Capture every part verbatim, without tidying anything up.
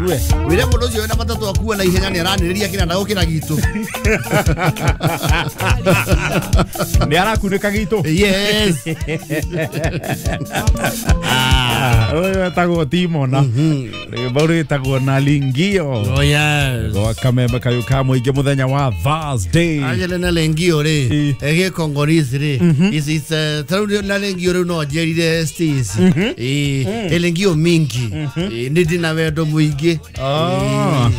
Njigue. Wire mundu ucio wina matatu akue na ihenya ni araniriria kinanda gukira gitu. Ni arakunĩka gitu. Yes. Ah, ũyũ etagwo Timona. Rwĩmbo rwĩtagwo na Lingio. Oh yes. Gwa kamembe kayũ ka mũingĩ mũthenya wa Thursday. Angele na Lingio rĩ, ege Congolese rĩ. Is is tarau na Lingio rĩu no njerire Stacy. Eh, Lingio mingi. Nĩ ndĩ na wendo mũingĩ. Oh.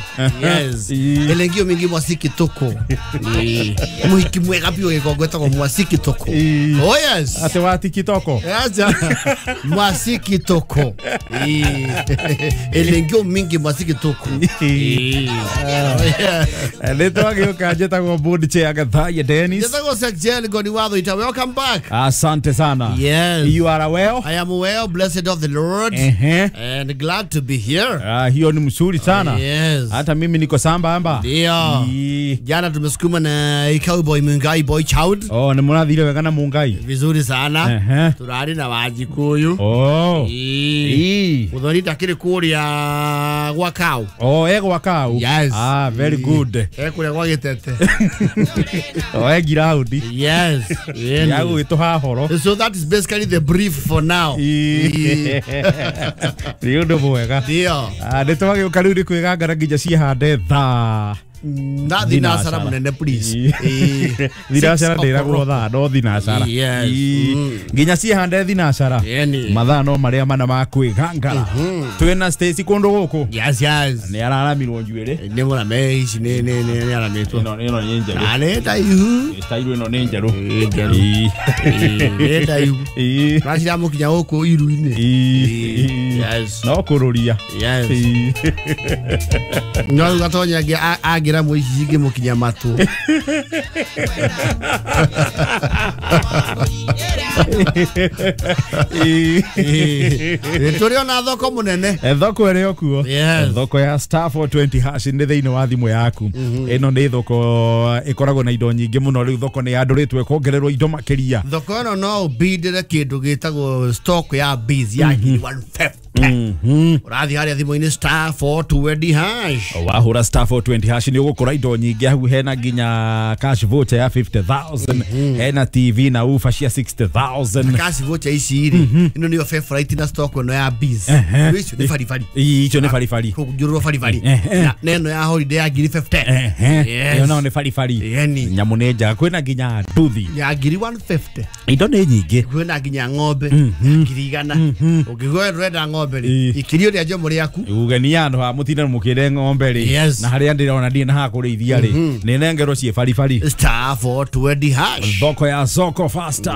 Yes. Elengio mingi mwasiki toko. Muhiki mwega biũ gĩkongo etagwo mwasiki toko. Oh yes. Ate wa tikitoko. Yes. Mwasiki toko. Elengio mingi mwasiki toko. Nĩ twagĩũka njĩtagwo board chair Gathaiya Dennis. Njĩtagwo Sir Goni Watho ita. Welcome back. Asante sana. Yes. You are well? I am well, blessed of the Lord. Uh-huh. And glad to be here. Ah, hiyo ni mzuri sana. Oh, yes. Hata mimi niko samba amba. Ndio. Jana tumesukuma na Cowboy Mungai Boy Child. Oh, ni murathire wega na Mungai. Vizuri sana. Uh-huh. Turari na Wajikuyu. Oh. Ii. Muthoni ndakiri kuria gwa kau. Oh, e gwa kau. Yes. Ah, very good. E kuria gwa gitete. Oh, e giraundi. Yes. Ya gwituha horo. So that is basically the brief for now. Ni undu mwega. Ndio. Ah, nĩ twagĩũka rĩu nĩ kwĩgangara nginya ciĩhande thaa na thinacara munene please. Thinacara ndĩragwo thaa no thinacara. Nginya ciĩhande thinacara mathaa no marĩa mana ma kwĩgangara. Twĩna Stacy kũndũ gũkũ. Yes yes. Nĩ araramirwo njuĩrĩ. Nĩ mũrame ici nĩ nĩ nĩ aramitwo. Ĩno ĩno nĩ njerũ. Na nĩ ndaihu. Style ĩno nĩ njerũ. Njerũ. Nĩ ndaihu. Raciramũkinya gũkũ iru-inĩ. Yes. No kũrũria. Yes. No gatonya angĩra mwici ngĩmũkinya matũ. Tũrĩ ona thoko mũnene. Thoko ĩrĩ o kuo. Thoko ya star four twenty hash nĩ thĩinĩ wa thimũ yaku. Ĩno nĩ thoko ĩkoragwo na indo nyingĩ mũno. Rĩu thoko nĩ yandũrĩtwo ĩkongererwo indo makĩria. Thoko ĩno no ũbindĩre kĩndũ gĩtagwo stock ya bees ya ngiri one fifty. Ũrathiĩ harĩa thimũ-inĩ star four twenty hash. Wahũra star four twenty hash nĩ ũgũkora indo nyingĩ hau. Hena nginya cash voucher ya fifty thousand, hena T V na ufa cia sixty thousand. Cash voucher ici rĩ, ĩno nĩyo favorite na stock ĩno ya bees. Icio nĩ baribari. Icio nĩ baribari. Kũnjũrwo baribari. Na ĩno ya holiday ya ngiri fifty. Ĩyo nayo nĩ baribari. Nyamũ nĩ njega. Kwĩna nginya nduthi ya ngiri one fifty. Indo nĩ nyingĩ. Kwĩna nginya ng'ombe ngiri igana. Ũngĩgwa ũrenda ng'ombe rĩ, ikirio rĩa njomo rĩaku. Ugenia andũ ha mũtinde mũkĩre ng'ombe rĩ, na harĩa ndĩrona ndirĩ na ha kũrĩithia rĩ, nĩ nengerwo ciĩ baribari. Star four twenty hash. Thoko ya soko faster.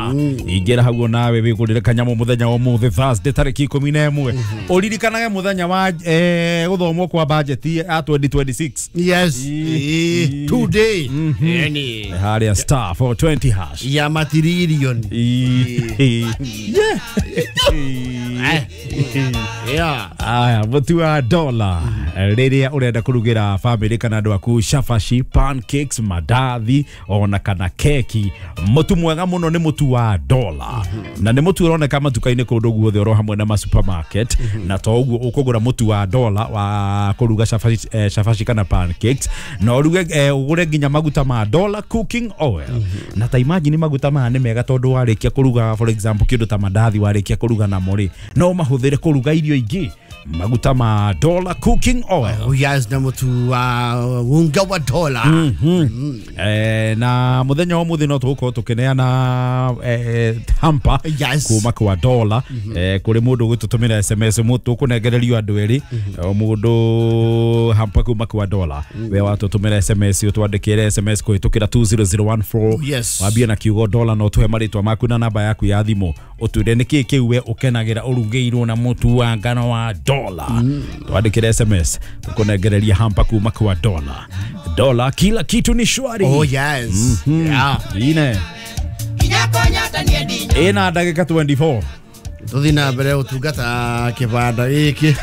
Ingĩra hau nawe wĩgũrĩre kanyamũ mũthenya wa ũmũthĩ Thursday tarĩki ikũmi na ĩmwe. Ũririkanage mũthenya wa gũthomwo kwa budget ya twenty twenty-six. Yes. Today. Nĩ harĩa star four twenty hash. Ya matiririoni. Yeah. Aya, mũtu wa dola rĩrĩa ũrenda kũrugĩra family kana andũ aku cabaci, pancakes, mandathi ona kana keki, mũtu mwega mũno nĩ mũtu wa dola. Na nĩ mũtu ũroneka matuka-inĩ kũndũ guothe oro hamwe na ma supermarket. Na to ũguo ũkũgũra mũtu wa dola wa kũruga cabaci, eh, cabaci kana pancakes, na ũruge eh, ũgũre nginya maguta ma dola cooking oil. Na ta imagine maguta maya nĩ mega tondũ warĩkia kũruga for example kĩndũ ta mandathi warĩkia kũruga namo rĩ, no mahũthĩre kũruga irio ingĩ. Maguta ma dola cooking oil. Oh yes, na mutu wa unga wa dola. Mm-hmm. Eh, na muthenya wa muthi no tugukorwo tukineana eh, hamper yes. kuma kwa dola. Mm-hmm. Eh, kuri mundu gututumira S M S mutu kunengererio andu eri. Mm-hmm. O mundu hamper kuma kwa dola. Mm-hmm. We watutumira S M S utwandikire S M S kuhitukira two zero zero one four. Yes. Wambie na kiugo dola no tuhe maritwa maku na namba yaku ya thimu utwire niki kiu we ukenagira urugeirwo na mutu wa ngano wa dola. Mm. Twandikire S M S tukunengereria hamper kuma kwa dola. Dola kila kitu ni shwari. Oh yes. Mm-hmm. Yeah. Ine. Ina ndagika twenty-four. Tuthi na mbere utungata kibanda giki.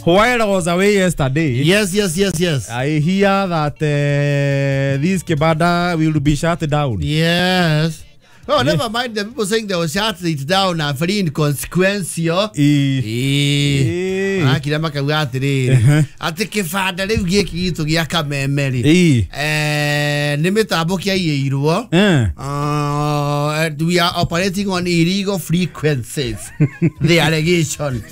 While I was away yesterday. Yes, yes, yes, yes. I hear that uh, this kibanda will be shut down. Yes. Oh, yeah. Never mind the people saying they will shut it down are very inconsequential. E. E. Marakira makauga atĩrĩrĩ atĩ kĩbanda rĩu gĩkĩ gitũ gĩa Kameme rĩ Ĩĩ. eh, nĩ mĩtambo kĩaiyĩirwo. Eh. Uh, we are operating on illegal frequencies. The allegation.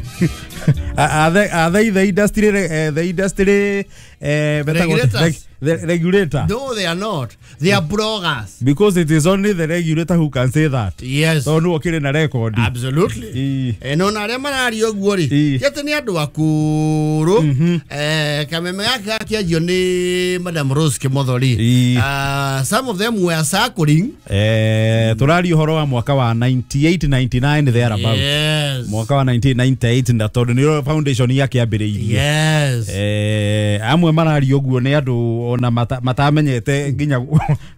Are they, are they the industry uh, the industry uh, Regulators? The regulator? No, they are not. They are bloggers. Because it is only the regulator who can say that. Yes. So no okire na record. Absolutely. Ĩĩ. Eh, no na arĩa mararia ũguo rĩ Ĩĩ. ti atĩ nĩ andũ akũrũ. Eh, Kameme gaka gakĩanjio nĩ Madam Rose Kimotho rĩ, Ĩĩ. uh, some of them were circling. Eh, tũraria ũhoro wa mwaka wa ninety-eight ninety-nine thereabout. Yes. Mwaka wa nineteen ninety-eight na tondũ nĩrĩo foundation yakĩambĩrĩirie. Yes. Eh, amwe mararia ũguo nĩ andũ ona mata, matamenyete nginya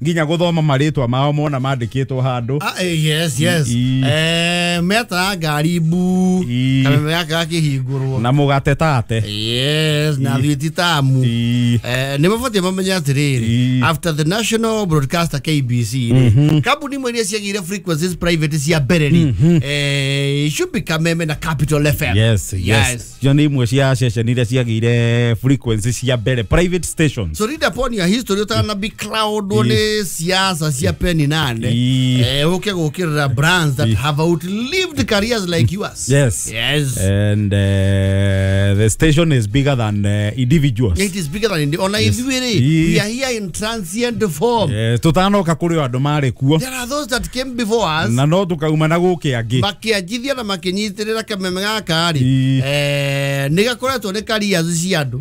nginya gũthoma marĩtwa mao mona mandĩkĩtwo handũ. Ah, eh, yes, yes. Ĩĩ. Eh, metaga ngari mbu. Ĩĩ. Kameme gaka gakĩhingũrwo. Na mũgate tate. Yes, na thuiti tamu. Ĩĩ. Eh, nĩ mabatiĩ mamenye atĩrĩrĩ Ĩĩ. after the national broadcaster K B C rĩ, kambuni imwe iria ciagĩire frequencies private cia mbere rĩ, eh, should be Kameme na Capital F M. Yes, yes. Cio nĩ imwe cia ceceni iria ciagĩire frequency cia mbere private stations. So read upon your history utana be cloud nĩ siasa cia peni nane. Ĩĩ. Eh, ũke gũkĩrĩra brands that have outlived careers like yours. Yes. Yes. And uh, the station is bigger than uh, individuals. It is bigger than indi- ona ithuĩ rĩ, Ĩĩ. we are here in transient form. Yes, tutanoka kũrĩ o andũ marĩ kuo. There are those that came before us. Na no tukauma na gũkĩ angĩ. Makĩanjithia na makĩnyitĩrĩra Kameme gaka rĩ, Ĩĩ. eh, nĩ gakoretwo nĩ careers cia andũ.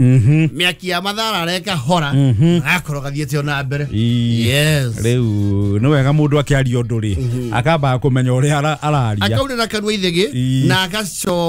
Mĩaki ya mathara areka hora gakorwo gathiĩte ona mbere. Ĩĩ. Yes. Rĩu nĩ wega mũndũ akĩaria ũndũ rĩ akambaga kũmenya ũrĩa ara- araria. Akaurĩra kanua ithĩgĩ Ĩĩ. na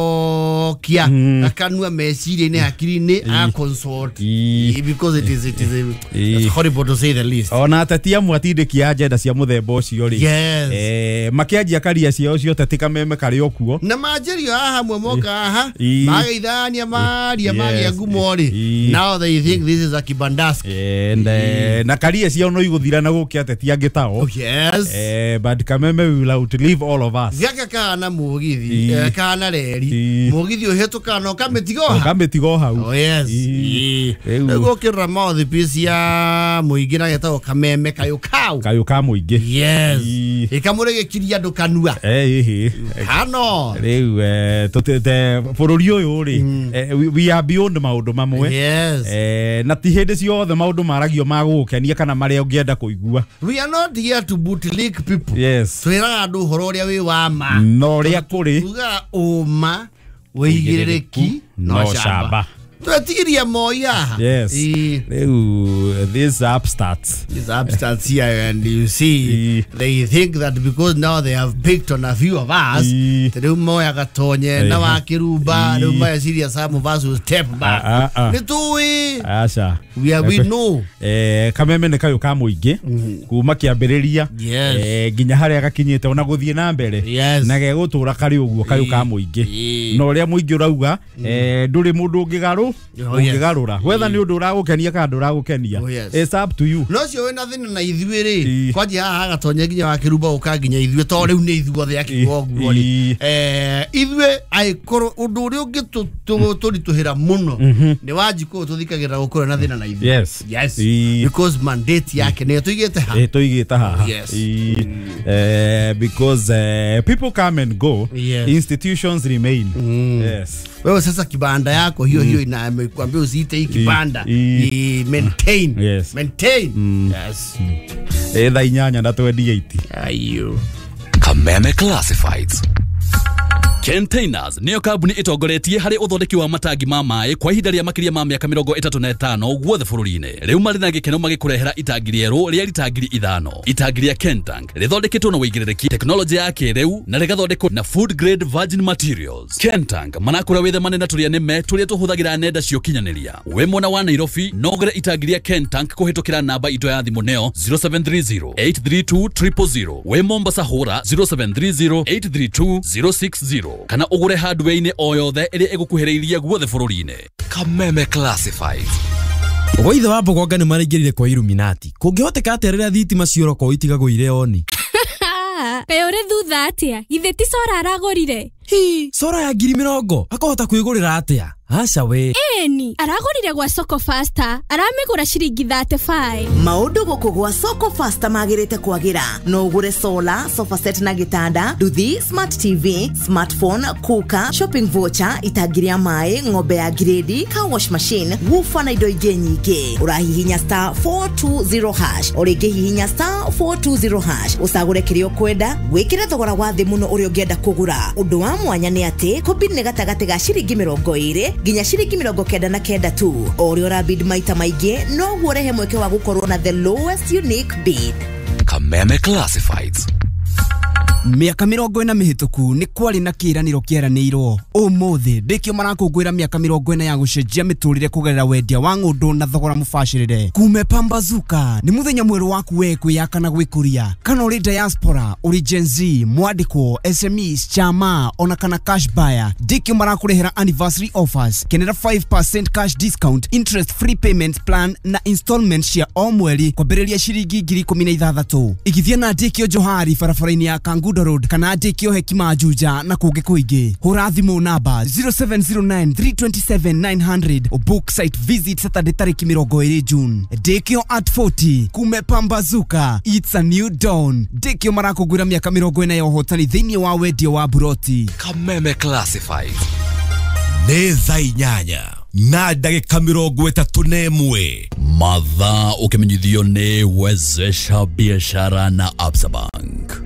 agacokia akanua meciria-inĩ hakiri-inĩ agaconsult. Ĩĩ. Ĩĩ, because it is, it is, Ĩĩ. it's horrible to say the least. Ona ateti amwe atindĩki a agenda cia mũthemba ũcio rĩ, Yes. eh, makĩanjia karia ciao cia ũteti Kameme karĩ o kuo. Na manjĩrio haha hamwe moka haha Ĩĩ. mageithania maria Yes. magĩa ngumo rĩ, Ĩĩ. now they think this is a kibandaski. And, eh, na karia ciao no igũthira na gũkĩ ateti angĩ tao. Oh, yes. Eh, but Kameme will outlive all of us. Gaka kahana mũgithi, Ĩĩ. eh, kahana reri Ĩĩ. mũgithi ũhĩtũkaga na ũkamĩtiga o ha. Ũkamĩtiga o hau. Oh, yes. Ĩĩ. Ĩĩ. Rĩu- Rĩu gũkĩrora mouthpiece ya mũingĩ na getagwo Kameme kayũ kau. Kayũ ka mũingĩ. Yes. Ĩĩ. Ĩkamũrĩgĩkiria andũ kanua. Eh, ĩhĩ. Hano. Rĩu eh, tũtĩte bũrũri ũyũ rĩ, eh, we- we are beyond maũndũ mamwe. Yes. Eh, na ti hĩndĩ ciothe maũndũ maragio ma gũgũkenia kana marĩa ũngĩenda kũigua. We are not here to bootlick people. Yes. Twĩraga andũ ũhoro ũrĩa wĩ wa ma. Na ũrĩa kũrĩ. Tugaga ũma wĩigĩrĩrĩki no no camba. camba. Twetigiria moi haha. Yes. Ĩĩ. Rĩu these upstarts. These upstarts here, and you see, Ĩĩ. they think that because now they have picked on a few of us, Ĩĩ. rĩu moyaga tonye na Ĩĩ. wa kĩrumba, rĩu Ĩĩ. meciria some of us will step back. Ah, ah, ah. Nĩ tũĩ. Aca. We are, we know. Eh, Kameme nĩ kayũ ka mũingĩ kuma kĩambĩrĩria Yes. eh, nginya harĩa gakinyĩte ona gũthiĩ na mbere Yes. na gegũtũra karĩ ũguo kayũ ka mũingĩ. Ĩĩ. Na ũrĩa mũingĩ ũrauga eh, ndũrĩ mũndũ ũngĩgarũ Oh, yes. ũngĩgarũra whether nĩ ũndũ ũragũkenia kana ndũragũkenia. Oh, yes. It's up to you. No ũcio wĩna thĩna na ithuĩ rĩ, Ĩĩ. kwanjia haha agatonye nginya wa kĩrumba ũka nginya ithuĩ to rĩu nĩ ithuothe akiuga ũguo rĩ. Ĩĩ. Eh, ithuĩ angĩkorwo ũndũ ũrĩa ũngĩtũritũhĩra mũno nĩ Wanjikũ ũyũ tũthikagĩrĩra gũkorwo na thĩna na ithuĩ. Yes. Yes. Ĩĩ. Because mandate yake nĩyo tũigĩte ha. Eh, tũigĩte haha. Yes. Ĩĩ. Eh, because eh, people come and go. Yes. Institutions remain. Yes. Wewe sasa kibanda yako hiyo hiyo ina amekwambia usiite hii kibanda. Ĩĩ. I maintain. Yes. Maintain. Yes. Eh, thaa inyanya na twenty-eight. Ayo. Kameme Classifieds. Containers niyo kambuni itongoretie harĩ ũthondeki wa matangi ma maĩ kwa ihinda rĩa makĩria ma mĩaka mĩrongo ĩtatũ na ĩtano guothe bũrũri-inĩ. Rĩu marĩ na gĩkeno magĩkũrehera itangi rĩerũ rĩa rita ngiri ithano. Itangi rĩa Kentank rĩthondeketwo na ũigĩrĩrĩki tekinoronjĩ ya kĩrĩu na rĩgathondekwo na food grade virgin materials. Kentank manakũra wĩthemane na tũrĩa nĩme tũrĩa tũhũthagĩra nenda cia ũkinyanĩria. Wĩ mwena wa Nairobi no ũgũre itangi rĩa Kentank kũhĩtũkĩra namba itũ ya thimũ nĩyo zero seven three zero eight three two triple zero. Wĩ Mombasa hũra zero seven three zero eight three two zero six zero kana ũgũre hardware-inĩ o yothe ĩrĩa ĩgũkuhĩrĩirie guothe bũrũri-inĩ. Kameme Classifieds. Gwa ithe wa Mbogonga nĩ maraingĩrire kwa Illuminati. Kũngĩhoteka atĩa rĩrĩa thitima ciora kwao itigagwo irĩ oni? Kaĩ ũrĩ thutha atĩa? Githĩ ti cora aragũrire? Hi, sora ya ngiri mĩrongo akahota kwĩgũrĩra atĩa? Aca we. Eni, aragũrire gwa Soko Faster, aramĩgũra ciringi thirty-five. Maũndũ gũkũ gwa Soko Faster magĩrĩte kwagĩra. No ũgũre solar, sofa set na gĩtanda, nduthi, smart T V, smartphone, cooker, shopping voucher, itangi rĩa maĩ, ng'ombe ya grade, car wash machine, woofer na indo ingĩ nyingĩ. Ũrahihinya star four two zero hash, o rĩngĩ hihinya star four two zero hash, ũcagũre kĩrĩa ũkwenda, wĩkĩre thogora wa thĩ mũno ũrĩa ũngĩenda kũgũra. Ũndũ wa mwanya nĩ atĩ kũbid nĩ gatagatĩ ga ciringi mĩrongo ĩrĩ nginya ciringi mĩrongo kenda na kenda tu. O ũrĩa ũrabid maita maingĩ noguo ũrehe mweke wa gũkorwo na the lowest unique bid. Kameme Classifieds. Mĩaka mĩrongo ĩna mĩhĩtũku nĩ kwarĩ na kĩĩranĩro kĩeranĩirwo. Ũmũthĩ ndĩkĩo marakũngũĩra mĩaka mĩrongo ĩna ya gũcenjia mĩtũrĩre kũgerera wendia wa ng'ũndũ na thogora mũbacĩrĩre. Kume Pambazuka nĩ mũthenya mwerũ waku we kwĩyaka na gwĩkũria. Kana ũrĩ diaspora, ũrĩ Gen Z, mwandĩkwo, S M Es, chama ona kana cash buyer, ndĩkĩo marakũrehera anniversary offers. Kenera five percent cash discount, interest free payment plan na installment cia o mweri kwambĩrĩria ciringi ngiri ikũmi na ithathatũ. Igithia na ndĩkĩo Johari barabara-inĩ ya Kangundo Road kana ndĩkĩo Hekima Juja na kũngĩ kũingĩ. Hũra thimũ namba zero seven zero nine three two seven nine hundred o book site visit Saturday tarĩki mĩrongo ĩrĩ June. Ndĩkĩo at forty kume Pambazuka, it's a new dawn. Ndĩkĩo marakũngũĩra mĩaka mĩrongo ĩna ya ũhotani thĩinĩ wa wendia wa buroti. Kameme Classifieds. Nĩ thaa inyanya na ndagĩka mĩrongo ĩtatũ na ĩmwe. Mathaa ũkĩmenyithio nĩ Wezesha Biashara na Absa Bank.